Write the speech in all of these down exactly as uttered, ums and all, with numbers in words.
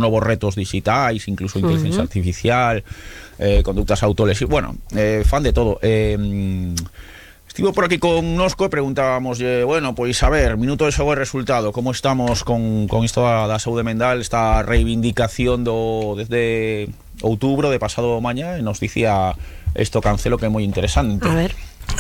novos retos digitais, incluso inteligencia uh-huh. artificial, eh, conductas autolesivas, bueno, eh, fan de todo. Eh, estivo por aquí con Nosco e preguntábamos, eh, bueno, pois a ver, minuto de xogo e resultado, como estamos con, con isto da, da saúde mental, esta reivindicación do desde outubro de pasado mañá, e nos dicía esto Cancelo que é moi interesante. A ver.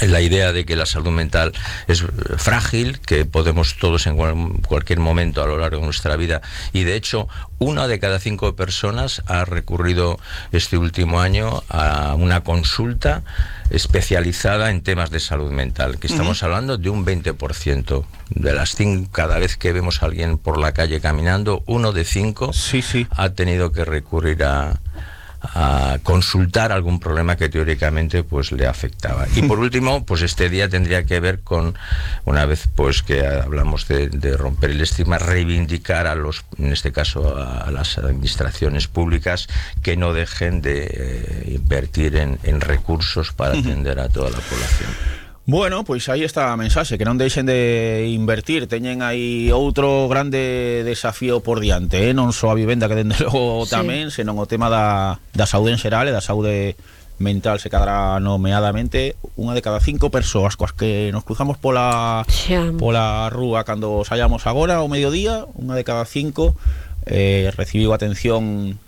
La idea de que la salud mental es frágil, que podemos todos en cualquier momento a lo largo de nuestra vida, y de hecho una de cada cinco personas ha recurrido este último año a una consulta especializada en temas de salud mental, que estamos uh-huh. hablando de un veinte por ciento de las cinco. Cada vez que vemos a alguien por la calle caminando, uno de cinco sí, sí. ha tenido que recurrir a a consultar algún problema que teóricamente pues le afectaba. Y por último, pues este día tendría que ver con, una vez pues que hablamos de, de romper el estigma, reivindicar a los, en este caso a, a las administraciones públicas, que no dejen de eh, invertir en, en recursos para atender a toda la población. Bueno, pois aí está a mensaxe, que non deixen de invertir, teñen aí outro grande desafío por diante, eh? Non só a vivenda, que dende logo sí. tamén, senón o tema da, da saúde en xeral e da saúde mental. Se quedará nomeadamente unha de cada cinco persoas coas que nos cruzamos pola, pola rúa cando saíamos agora ao mediodía, unha de cada cinco eh, recibiu atención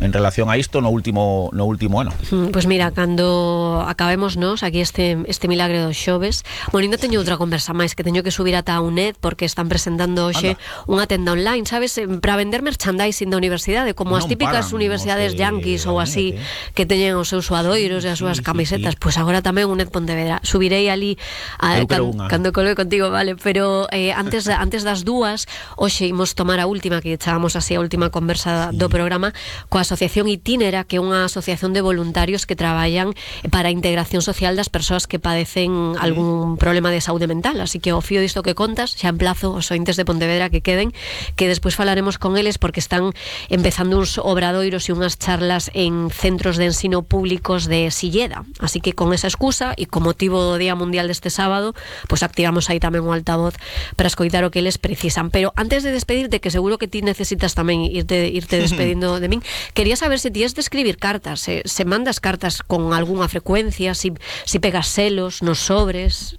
en relación a isto no último no último ano. Pois pues mira, cando acabemos nos aquí este este milagre dos xoves, bueno, ainda teño outra conversa máis que teño que subir ata a UNED, porque están presentando hoxe unha tenda online, sabes, para vender merchandising da universidade, como non as típicas paran, universidades yanquis ou así, eh. que teñen os seus suadoiros e as súas sí, camisetas, sí, sí. Pois pues agora tamén UNED Pontevedra. Subirei ali a, can, cando colgue contigo, vale, pero eh, antes antes das dúas, hoxe imos tomar a última, que echábamos así a última conversa sí. do programa coa Asociación Itinera, que é unha asociación de voluntarios que traballan para a integración social das persoas que padecen algún problema de saúde mental. Así que ao fío disto que contas, xa emplazo os ointes de Pontevedra que queden, que despois falaremos con eles, porque están empezando uns obradoiros e unhas charlas en centros de ensino públicos de Silleda. Así que con esa excusa e con motivo do Día Mundial deste sábado, pois activamos aí tamén o altavoz para escoitar o que eles precisan. Pero antes de despedirte, que seguro que ti necesitas tamén irte, irte despedindo de min, quería saber se ti es de escribir cartas, se, se mandas cartas con algunha frecuencia, si, si pegas selos nos sobres.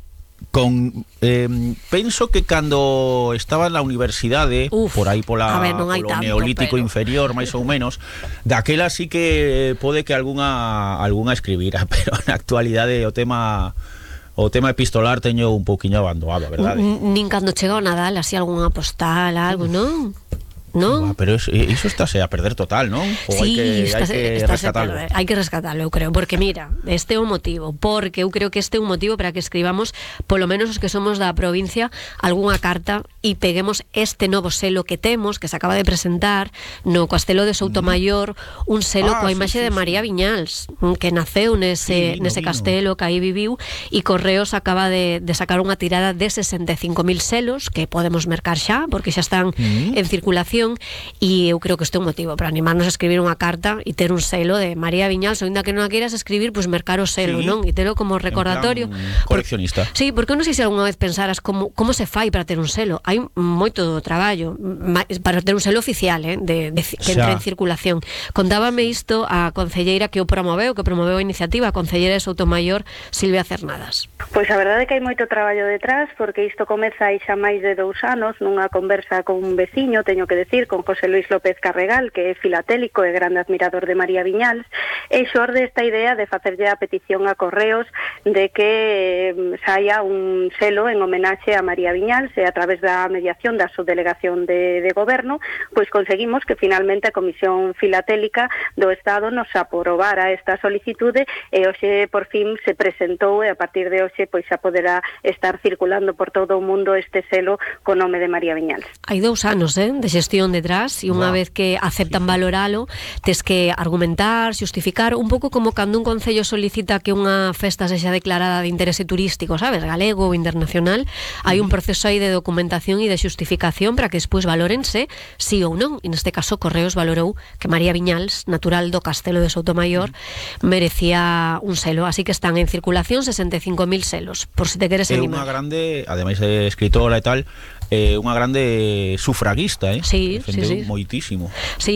Con eh, penso que cando estaba na universidade, Uf, por aí pola ver, polo tanto, neolítico pero... inferior, máis ou menos, daquela sí que pode que algunha algunha escribira, pero na actualidade o tema o tema epistolar teño un pouquiño abandonado, a verdade. Nin cando chega o Nadal, así algunha postal, algo, non? ¿No? Ah, pero eso, eso estáse a perder total, ¿no? O sí, hai que, estás, hai que rescatarlo. Perder, hai que rescatarlo, eu creo, porque mira, este é un motivo, porque eu creo que este é un motivo para que escribamos, polo menos os que somos da provincia, algunha carta e peguemos este novo selo que temos, que se acaba de presentar no Castelo de Soutomaior, un selo ah, coa imaxe sí, sí, de María sí. Viñals, que naceu nese, sí, nese vino. Castelo, que aí viviu, e Correos acaba de, de sacar unha tirada de sesenta e cinco mil selos, que podemos mercar xa, porque xa están mm. en circulación. E eu creo que este é un motivo para animarnos a escribir unha carta e ter un selo de María Viñals, ou ainda que non a queiras escribir, pois pues mercar o selo, sí, non? E telo como recordatorio. Coleccionista. Por, sí, porque non sei se algunha vez pensaras como, como se fai para ter un selo. Hai moito traballo para ter un selo oficial, eh, de, de, que entre en circulación. Contábame isto a concelleira que o promoveu, que promoveu a iniciativa, a concelleira de Soutomaior, Silvia Cernadas. Pois a verdade é que hai moito traballo detrás, porque isto comeza aí xa máis de dous anos, nunha conversa con un veciño, teño que decir, con José Luis López Carregal, que é filatélico e grande admirador de María Viñals, e xorde esta idea de facerlle a petición a Correos de que saia un selo en homenaxe a María Viñals, e a través da mediación da subdelegación de, de goberno, pois conseguimos que finalmente a Comisión Filatélica do Estado nos aprobara esta solicitude, e hoxe por fin se presentou, e a partir de hoxe pois xa poderá estar circulando por todo o mundo este selo con nome de María Viñals. Hai dous anos, eh, de xestión detrás, e unha wow. vez que aceptan valoralo, tes que argumentar, xustificar, un pouco como cando un concello solicita que unha festa sexa declarada de interese turístico, sabes, galego ou internacional, hai un proceso aí de documentación e de xustificación para que despois valórense sí ou non. E neste caso Correos valorou que María Viñals, natural do Castelo de Soutomaior, merecía un selo, así que están en circulación sesenta e cinco mil selos, por si te queres animar. É unha grande, ademais de escritora e tal, eh, unha grande sufraguista, eh? Sí, sí, sí. Moitísimo. Sí,